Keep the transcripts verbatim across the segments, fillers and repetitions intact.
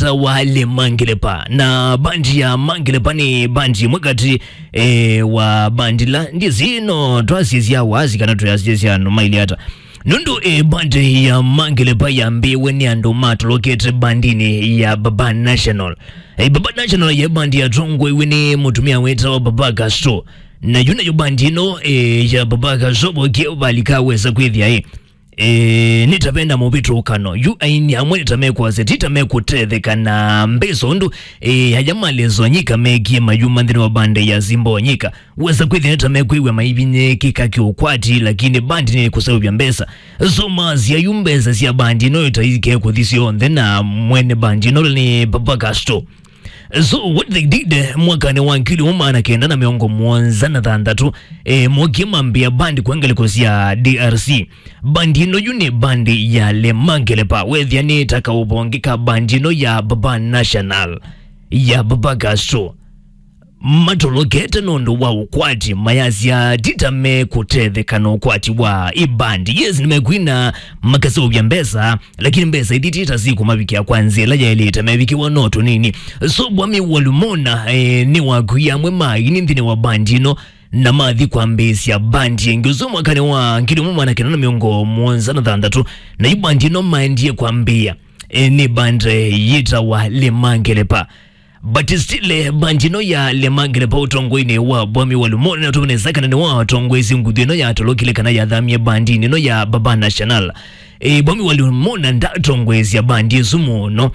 wĩtawa Le Mangelepa. Na bandi ya Mangelepa nĩ bandi ĩmwe katĩ, eh, wa bandi ila ndizi no twasisya waasi kana twĩasisya andũ maili ata. Nũndũ, eh, bandi ya Mangelepa yambĩĩwe nĩ andũ matolokete bandinĩ ya Baba National. Eh, Baba National ye bandi yatongoiwe nĩ mũtumĩa wĩtawa Baba Castro. Na yu nayo bandi ĩno, eh, ya Baba Castro vokie valika wesa kwĩthĩa, eh, eh, nĩ ta vena mũvĩtũkano. Yu aini amwe nĩ ta mekwasya, ti ta mekũtetheka na mbesa ũndũ, eh, aya ma Les Wanyika mekie mayuma nthĩnĩ wa bandi ya Simba Wanyika. Wesa kwĩthĩa nĩ ta mekwĩw'a maivinyĩĩkĩka kĩũkwati, lakini bandi nĩ kũseũvya mbesa. So masya yu mbesa sya bandi ĩno ĩtaike kũthi syonthe na mwene bandi ĩno nĩ Baba Castro. So what they did, eh, mwakanĩ wa ngili ũmwe maana kenda na mĩongo mũonza na thanthatũ, eh, mokie mambĩa bandi kwa ngalĩko sya D R C. Bandi ĩno yu nĩ bandi ya Le Mangelepa, wethĩa nĩ ta kaũvonge ka bandi ĩno ya Baba National, ya Baba Castro. Matolokete nũndũ wa ũkwati, mayasya ti ta mekũtetheka na ũkwati wa ibandi. Yes, nĩmekwina makaseũvya mbesa, lakini mbesa ithi ti ta sikũmavikĩa kwa nzĩa ĩla yaĩlĩte, mevikĩwa no tũnini. So Bwami Walumona, eh, nĩwakuie amwe ma aini nthĩnĩ wa bandi ĩno, na mathi kwambĩĩsya bandi ĩngĩ. Ũsu mwakanĩ wa ngili ũmwe maana kenda na mĩongo mũonza na thanthatũ, na yu bandi ĩno maendie kwambĩĩa, eh, nĩ bandi yĩtawa Le Mangelepa. But still, eh, bandi ĩno ya Le Mangelepa ũtongoinĩ wa Bwami Walumona, na tũmene nesa kana nĩwe watongoesye nguthu ĩno yatolokile kana yathamie bandinĩ ĩno ya Baba National. Eh, Bwami Walumona ndatongoesya bandi ĩsu mũno.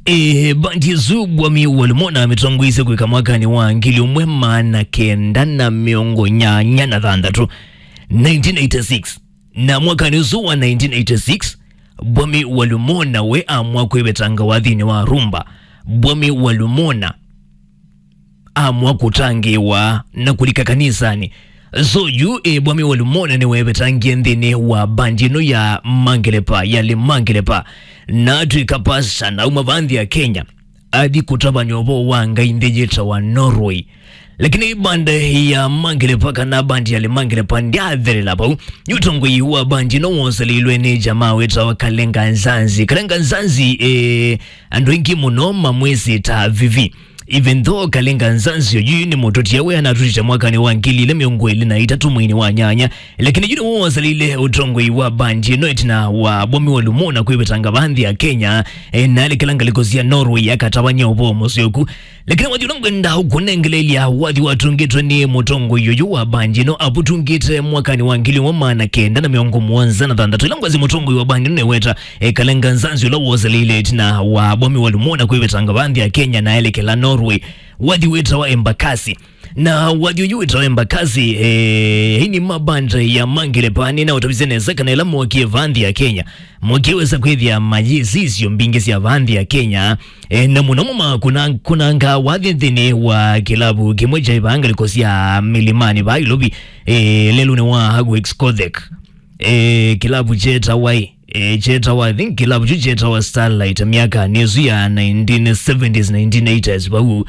Eh, bandi ĩsu Bwami Walumona amĩtongoisye kwĩka mwakanĩ wa ngili ũmwe maana kenda na mĩongo nyanya na thanthatũ, nineteen eighty-six. Na mwakanĩ ũsu wa nineteen eighty-six, Bwami Walumona we amwa kwĩvetanga wathinĩ wa Rumba. Bwami Walumona amwa kũtangĩĩwa na kũlika kanisanĩ. So yu, eh, Bwami Walumona nĩwevetangie nthĩnĩ wa bandi ĩno ya Mangelepa, ya Le Mangelepa, na atw'ĩka pasta na auma va nthĩ ya Kenya athi kũtavany'a ũvoo wa Ngai nthĩ yĩtawa Norway. Lakini bandi ya Mangelepa kana bandi ya Le Mangelepa ndyathelela vau. Yu ũtongoi wa bandi ĩno woselilwe nĩ jamaa wĩtawa Kalenga Nzanzi. Kalenga Nzanzi, eh, andũ aingĩ mũno mamwĩsĩ ta Vivi. Even though Kalenga Nzanzi oyu nĩ mũtũtia, we anatũtĩte mwakanĩ wa ngili ilĩ mĩongo ĩlĩ na itatũ mweinĩ wa nyanya, lakini yu nĩwe woselile ũtongoi wa bandi ĩno ĩtina wa Bwami Walumona kwĩvetanga va nthĩ ya Kenya, eh, na alekela ngalĩko sya Norway akatavany'a ũvoo mũseo ku. Lakini wathi ũla ngwenda ũkũnengeleelya wathi watungĩtwe nĩ mũtongoi ũyũ wa bandi ĩno avũtungĩte mwakanĩ wa ngili ũmwe maana kenda na mĩongo mũonza na thanthatũ, ĩla ngwasya mũtongoi wa bandi ĩno nĩweta, eh, Kalenga Nzanzi ũla woselile ĩtina wa Bwami Walumona kwĩvetanga va nthĩ ya Kenya na elekela Norway. Wathi wĩtawa Embakasi. Na wathi ũyũ wĩtawa Embakasi, eh, aini ma bandi ya Mangelepa nĩnaũtavisye nesa kana ĩla mokie va nthĩ ya Kenya, mokie wesa kwĩthĩa mayĩsĩ isio mbingĩ sya va nthĩ ya Kenya. Eh, na mũno mũno makũnangaa wathi nthĩnĩ wa kĩlavu kĩmwe kyaĩ vaa ngalĩko sya mĩlimani vaa Ilovi, eh, lelũnĩ wa Hagwix Kothek. Eh, kĩlavu kyetawa ĩ, eh, kyetawa, I think kĩlavu kyu kyetawa Starlight myakanĩ ĩsu ya nineteen seventies, nineteen eighties vau.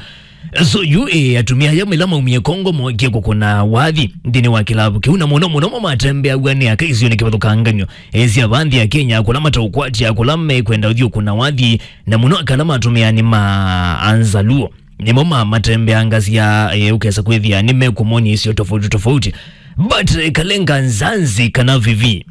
So yu, eh, atumĩa aya ĩla maumie Congo mokie kũkũna wathi nthĩnĩ wa kĩlavu kĩu, na mũno mũno mo matembeaw'a nĩ aka isionĩ kĩvathũkanganyo, eh, sya va nthĩ ya Kenya, kũla mataũkwatya, kũla mekwenda ũthiĩ ũkũna wathi, na mũno aka ala matũmĩaa nĩ ma Anzaluo. Nĩmo ma matembeangasya, eh, ũkesa kwĩthĩa nĩmekũmony'a isio tofauti tofauti. But, eh, Kalenga Nzanzi kana Vivi,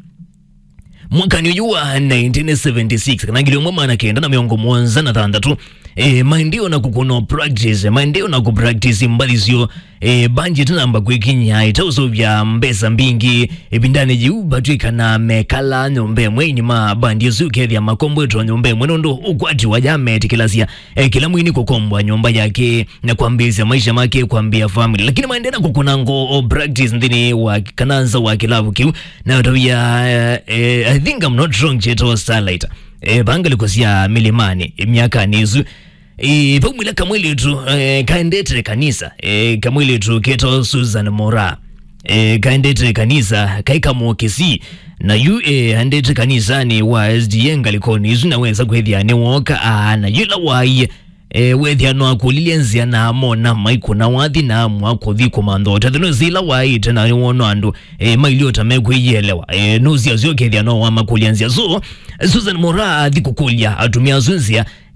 mwakanĩ ũyũ wa nineteen seventy-six, kana ngili ũmwe maana kenda na mĩongo mũonza na thanthatũ, eh, maendee na kũkũna practice, maendee na kũpractice mbathi syoo, eh, bandi ĩtanamba kwĩkiny'a, ĩtaũseũvya mbesa mbingĩ. Ĩvindanĩ yĩu vatw'ĩkana mekala nyũmba ĩmwe, aini ma bandi ĩsu ũkethĩa makombwetwe nyũmba ĩmwe nũndũ ũkwati wa ya metĩkĩlasya, eh, kĩla mwini kũkombwa nyũmba yake na kwambĩĩsya maisha make, kwambĩĩa family. Lakini maendee na kũkũna ngoo o practice nthĩnĩ wa kana nza wa kĩlavu kĩu, na ũtavya, eh, I think I'm not wrong, kyetawa Starlight. Eh, va ngalĩko sya mĩlimani, eh, myakanĩ ĩsu. Eh, vaumĩla kamwĩlĩtu, eh, kaendete kanisa, eh, kamwĩlĩtu ketawa Susan Mora. Eh, kaendete kanisa, kai kamũkĩsi. Na yu, eh, aendete kanisanĩ wa S D A ngalĩkonĩ ĩsu, na wesa kwĩthĩa nĩwoka, aa, na yu ĩla waie, E, wethĩa no akũlilye nzĩa na amona maikũna wathi na amwa kũthi kũmantha ũtethyo. Nũsĩ ĩla waĩte na nĩwona andũ e, mailio ta mekwĩyĩelewa. E, nũsĩ asu ũkethĩa no wamakũlya nzĩa. So, Susan Mora athi kũkũlya atumĩa asu nzĩa,